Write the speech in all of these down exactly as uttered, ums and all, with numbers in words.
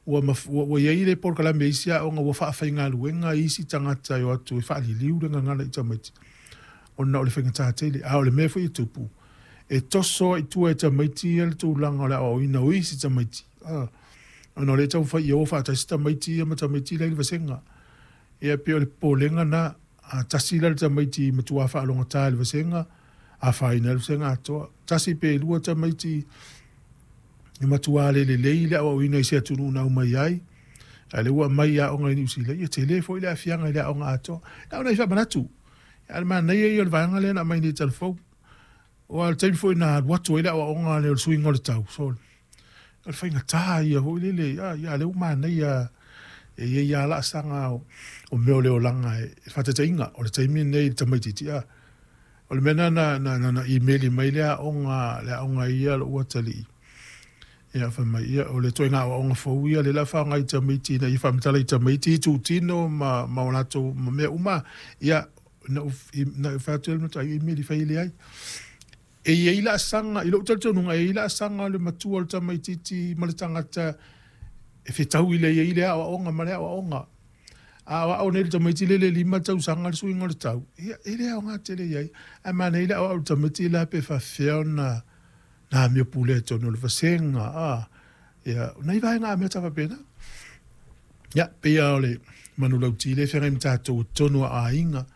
Ua ua i ai le polokalame i isi aoga ua faafaigaluega isi tagata e o atu e faaliliu le gagana i tamaiti ona o le faigata tele. A o le mea foi e tupu, e toso ai i tua e tamaiti ia le tulaga o le aoaoina o isi tamaiti, ona o lea e taumafai ia o faatasi tamaiti ia ma tamaiti la e i le vasega. Ia pei o le popolega lena, a tasi la le tamaiti matua faalogogata i le vasega, afaina ai le vasega atoa. Tasi pe lua tamaiti e matua le lelei le aoaoina i se atunuu na aumai ai, a o lea ua aumai i aoga i Niu Sila, ia tele foi le aafiaga i le aoga atoa. Na o nai faamanatu, a o le manaia ia o le vaega lea na aumai nei i Talafou. Aua o le taimi foi na alu atu ai le aoaoga lea o le suiga o le tau, sole, o le faigata ia foi lele, a o lea ua manaia e i ai lava laasaga o mea o le olaga e faataitaiga, o le taimi lenei i le tamaitiiti, a o le mea lena na, na, na imeli mai le aoga, le aoga ia lou atalii, ia fai mai, ia, o le ituaiga aoaoga fou ia lea o le a faaaoga i tamaiti ina ia faamatala i tamaiti itutino ma, ma o latou ma mea uma. Ia, na ou, na ou fai atu ai le matua imeli fai leai. E i ai laasaga, i lou talitonuga, e i ai laasaga o le matua o le tamaitiiti ma le tagata e fetaui lelei ai lea aoaoga ma lea aoaoga. A aoao nei i le tamaiti lele e lima tausaga le suiga o le tau, ia, e le aoga tele i ai. Ae manaia le aoao i le tamaiti la pe faapefea ona na amio pulea i totonu o le vasega, a, ia, o nai vaega amata faapena. Ia, pei lava o le manulauti lea e feagai ma tatou i totonu o aiga,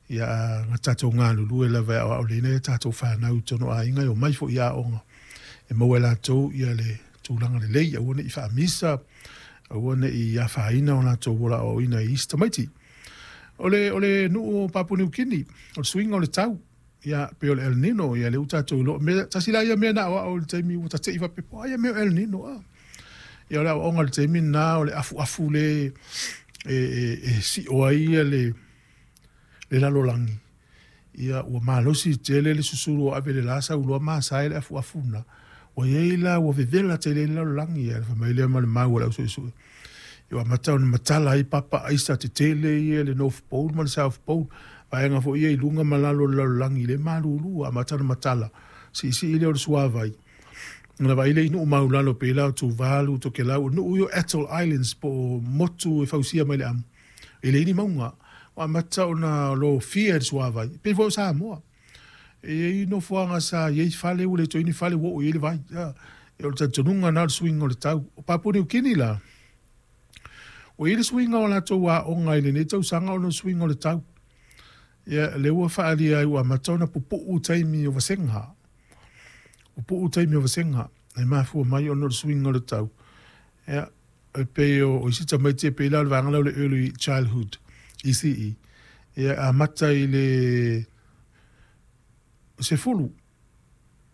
ia na tatou galulue lava e aoao lelei nai a tatou fanau i totonu o aiga e omai foi i aoga e maua e latou ia le tulaga lelei, aua ne i faamisa, aua ne i afaina o latou ola aoaoina i isi tamaiti. O le, o le nuu o Papua Niu Kini, o le suiga o le tau, ia, pei o le El Nino, ia lea ua tatou iloa. Mea, tasi la ia mea na aoao i le taimi ua tate'i faapea, po o ai ia mea o El Nino, a. Ia o le aoaoga i le taimi lena o le afuafu le e, e, e sio ai ia le, le lalolagi. Ia ua malosi tele le susulu o ave i le la sau loa masae le afuafu lena. Ua i ai la, ua vevela tele ai le lalolagi, ia fai mai lea ma le mau a le au suesue. Ia ua amata ona matala ai papa aisa tetele ia i le North Pole ma le South Pole, vaega foi ia i luga ma lalo o le lalolagi lea e malulu, ua amata ona matala, siisii lea o le suavai. Ona vaai lea i nuu maulalo pei la o Tuvalu, Tokelau, o nuu ia o Atoll Islands po o motu e fausia mai le amu, e leai ni mauga. Ua amata ona lofia e le suavai, pei foi o Samoa. E i ai nofoaga sa i ai fale ua le toe i ai ni fale ua oo i ai le vai. O le talitonuga lena o le suiga o le tau. O Papua Niu Kini la, ua i ai le suiga o latou aoga i lenei tausaga ona o le suiga o le tau. Ia, lea ua faaalia ai ua amata ona pupuu taimi o vasega. Pupuu taimi o vasega, e mafua mai ona o le suiga o le tau. Ia, e pei o isi tamaiti e pei la o le vaega lea o le Early Childhood, E C E, ia amata i le sefulu,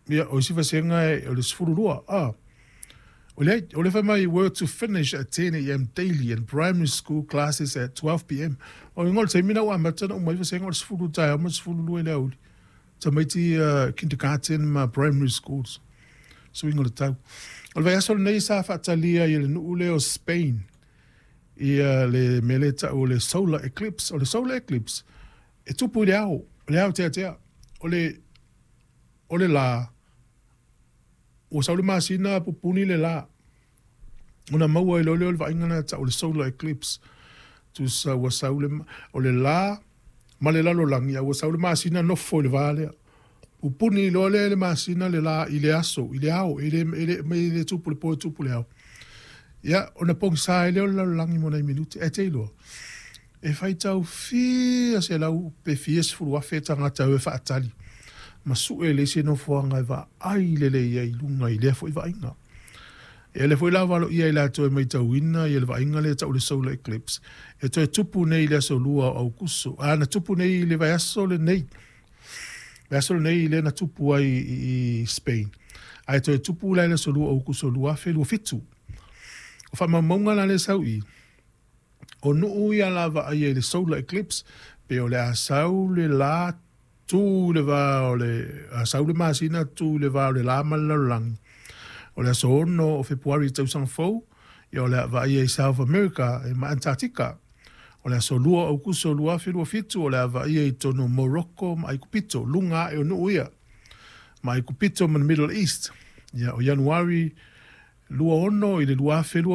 ia, o isi vasega o le sefulu lua, a. O le, o le fai mai, were to finish at ten a m daily and primary school classes at twelve p m O le taimi na ua amata na umai vasega o le sefulu taeao ma le sefulu lua i le aoauli. Tamaiti uh, kindergarten ma primary schools. Suiga o le tau. O le vaiaso lenei sa faatalia i le nuu lea o Spain, ia le mea lea tau o le solar eclipse. O le solar eclipse, e tupu i le ao, le ao teatea. O le, o le la, ua sau le masina pupuni le la. Ona maua ai loa lea o le vaaiga lena tau o le solar eclipse. Tusa ua sau le, o le la ma le lalolagi, a ua sau le masina nofo i le va lea. Pupuni loa lea le masina le la i le aso, i le ao, e le, e le, e le tupu le po e tupu le ao. Ia, ona pogisa ai lea o le lalolagi mo nai minute, e te iloa. E faitau fia selau pe fia sefulu afe tagata e faatali. Ma sue le isi nofoaga e vaai lelei ai i luga i lea foi vaaiga. Ia lea foi la valoia i latou e matauina ia le vaaiga lea tau le solar eclipse. E toe tupu nei i le aso lua o Aukuso. A na tupu nei i le vaiaso lenei. Vaiaso lenei lea na tupu ai i Spain. Ae toe tupu la i le aso lua o Aukuso lua afe lua fitu. O faamaumauga la lea sau i, o nuu ia la vaaia i le solar eclipse, pe o le a sau le la tu le va o le, a sau le masina tu le va o le la ma le lalolagi. O le aso ono o Fepuari i tausaga fou, ia o le a vaaia i South America e ma Antarctica. O le aso lua o Aukuso lua afe lua fitu, o le a vaaia i totonu o Morocco ma Aikupito, luga ae o nuu ia. Ma Aikupito ma le Middle East. Ia o Ianuari lua ono i le lua afe lua